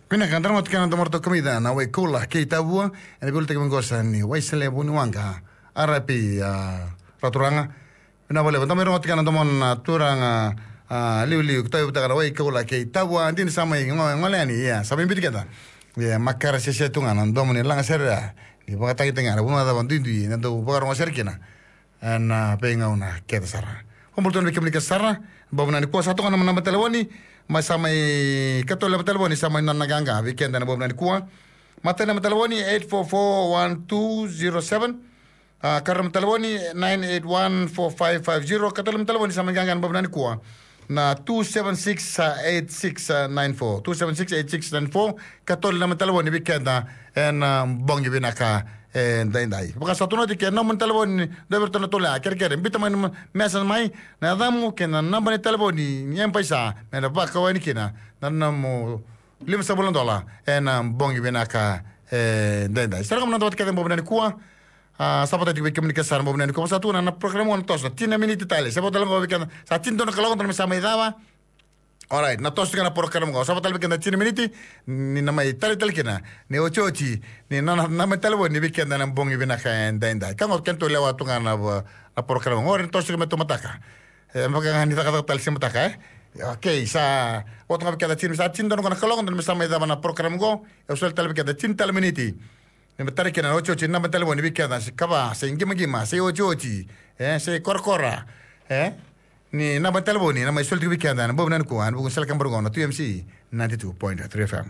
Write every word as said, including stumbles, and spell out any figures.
Vinaka, da rogoca tiko na domo ni turaga na Wai Koula kei Tavua, ena veiulutaga mai qo ni Waisale Vuniwaqa, R I P, a, Raturaga. Vinaka vakalevu, da mai rogoca tiko na domo na turaga, a, liuliu, keitou vutaka na Wai Koula kei Tavua, dina sa mai go-, gole yani, ia, sa mai biuti keda. Ia, makare sese tu ga na domo ni lagasere, ni vakatagitagi na vanua cava duidui, na dau vakarogo sere kina. Ena veigauna kece sara. Vakabula tu na vei kemuni kece sara, bau vinaka nikua, sa toka na naba ni talevoni, mai sa mai katolu na naba ni talevoni, sa mai nona qaqa vei keda ena bau vinaka nikua. Matai na naba ni talevoni, eight four four one two zero seven. A, karua na naba ni talevoni, nine eight one four five five zero. Katolu na naba ni talevoni, sa mai qaqa ena bau vinaka nikua. Na two seven six eight six nine four, two seven six eight six nine four. Katolu na naba ni talevoni vei keda ena, a, bogi vinaka edaidai. Vaka sa tukuni oti, ke nomu na talevoni dua vei iratou na tolu ya, kerekere biuta mai na message mai, na yacamu kei na naba ni talevoni ni M-PAiSA, me na vakau yani kina na nomu limasagavulu na dola ena bogi vinaka edaidai. Sa ra kama na dua vata kece ena bau vinaka nikua. A, sa vata tiko vei kemuni kece sara ena bau vinaka nikua. Sa tu na, na program qo na toso, tini na miniti tale. Sa vata tale qo vei keda, sa tini dua na kaloko, dua na me sa mai cava. Alright, na toso tiko na program qo. Sa vata tale vei keda tini na miniti, ni na mai taleitale kina, ni otioti ni na, na, na mai talevoni vei keda ena bogi vinaka edaidai. Ka qo kena tou lewa tu ga na, na program qo, ni toso tiko me tou mataka. E, me vaka ga ni cakacaka tale se mataka, e? Okay, sa, oti ga vei keda tini, sa tini dua na kaloko, dua na me sa mai cava na program qo, e soli tale vei keda tini tale miniti. Ni me tara kina na otioti ni naba ni talevoni vei keda, se kava, se qimaqima, se otioti, e, se korakora, e? Ni naba ni talevoni, na mai soli tiko vei keda, na bau vinaka nikua, ena vuku ni Sele Kabara qo na two M C, ninety-two point three F M.